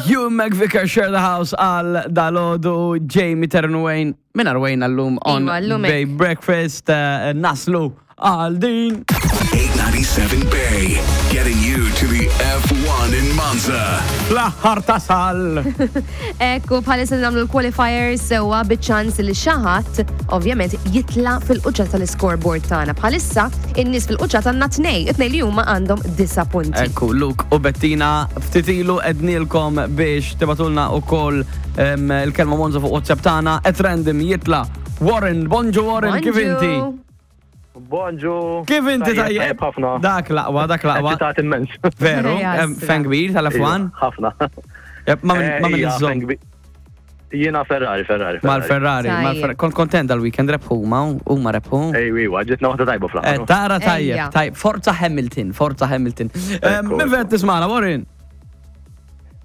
You McVicker Share the House għal dalodu Jamie Terran Wayne minn Wayne għallum on Iva, llum hekk. Bay Breakfast eh, naslu għal din. 897 Bay, getting you to the F1 in Monza. L-aħħar tasal. Ekku, bħalissa nagħmlu l-qualifiers sewwa biċ-ċans li xi ħadd ovvjament jitla fil-quċċata tal-scoreboard tagħna. Bħalissa in-nies fil-quċċata għandna tnej, it-tnej li huma għandhom disa' punti. Ekku, Luke u Bettina, ftit ilu ednilkom biex tibatulna u koll il-kelma Monza fuq WhatsApp tagħna, at random jitla Warren, bonġu Warren, kif inti? Bonġu. Kif inti tajjeb? Tajjeb ħafna. Dak laqwa, dak laqwa. Eċitat immens. Veru, Ejja, em, fan kbir tal-F1. Iva, Ħafna. Jep, Ma minn ma minn Eh, ija, iżżomm. fan kbir. Jiena Ferrari, Ferrari. Mal-Ferrari, Tajjeb. mal-Ferrari. Kont kontent dal-weekend rebħu ma huma rebħu. Ej, iwa, ġitna waħda tajba Eh, fl-aħħar. Tara tajjeb, Ejja. tajjeb. Forza Hamilton, Forza Hamilton. Eh, Ekku, Min fejn tismana, Warren?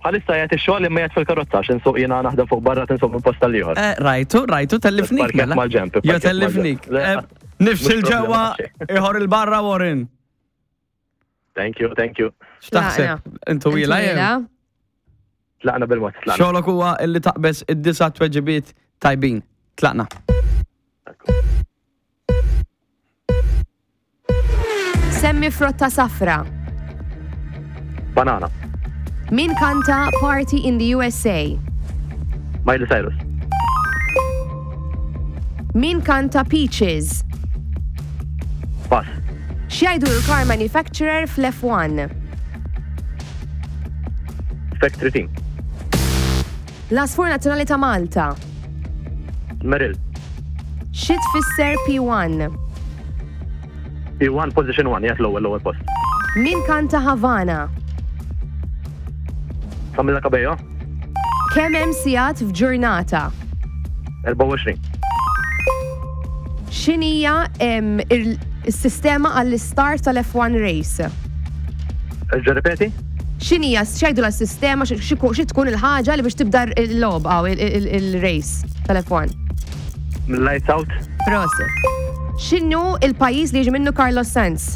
Bħalissa jgħet ix-xogħol imma jgħet fil-karozza għax insuq jiena naħdem fuq barra tinsuq minn posta l-ieħor. Eh, Rajtu, rajtu, tellifnik. Parket mela. mal-ġemp, Jo parket tellifnik. mal-ġemp. Le, Eh, Nifs mhux il-ġewwa, problema xejn. iħor il-barra, Warren. Thank you, thank you. X'taħseb? Intu wila jew? Tlaqna bil-mod, tlaqna. Xogħlok huwa illi taqbeż id-disa tweġibiet tajbin. Tlaqna. Semmi frotta safra. Banana. Min kanta Party in the USA? Miley Cyrus. Min kanta Peaches? Pass. X'jgħidu l-car manufacturer fl-F1? Factory Team. L-Asfur Nazzjonali ta' Malta. Merrill. Xi tfisser P1? P1 position 1, jgħet l-ewwel l-ewwel post. Min kanta Havana? Camilla Cabello, Kemm hemm sigħat f'ġurnata? 24. X'inhija em, il- is-sistema għall-istart tal-F1 race? Erġa' ripeti? X'inhija x'jgħidu l-sistema xi xi tkun il-ħaġa li biex tibda l-logħba aw il-race tal-F1? Lights out. Proset. X'inhu il-pajjiż li jiġi minnu Carlos Sainz?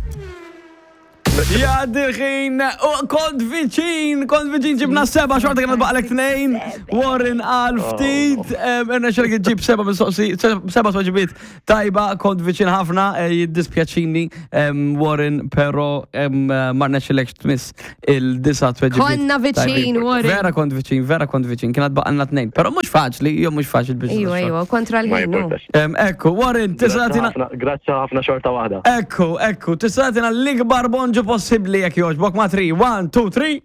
Jgħaddi l-ħin, u kont viċin, kont viċin ġibna seba, xorta kienet baqlek tnejn, Warren għal ftit, irna xerk ġib seba mistoqsi, seba tweġibiet tajba, kont viċin ħafna, eh, jiddispjaċini, em, Warren, pero em, eh, ma rnexxilekx tmiss il-disa tweġibiet. Konna viċin, tajbin. Warren. Vera kont viċin, vera kont viċin, kienet baqalna tnejn, pero mhux faċli, jo mhux faċli biex. Ejwa, ejwa, kontra Ma l-ħin. hu. jimportax. Em, Ekku, Warren, tista' Grazzi tagħtina ħafna- Grazzi ħafna xorta waħda. Ekku, ekku, tista' tagħtina l-ikbar bonġu possibbli jekk jogħġbok ma' 3, 1, 2, 3.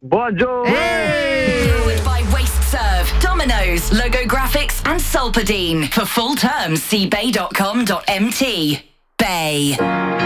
Bonġu! Powered by Waste Serve, Domino's, Logo Graphics, and Solpadine. For full terms, see bay.com.mt. Bay.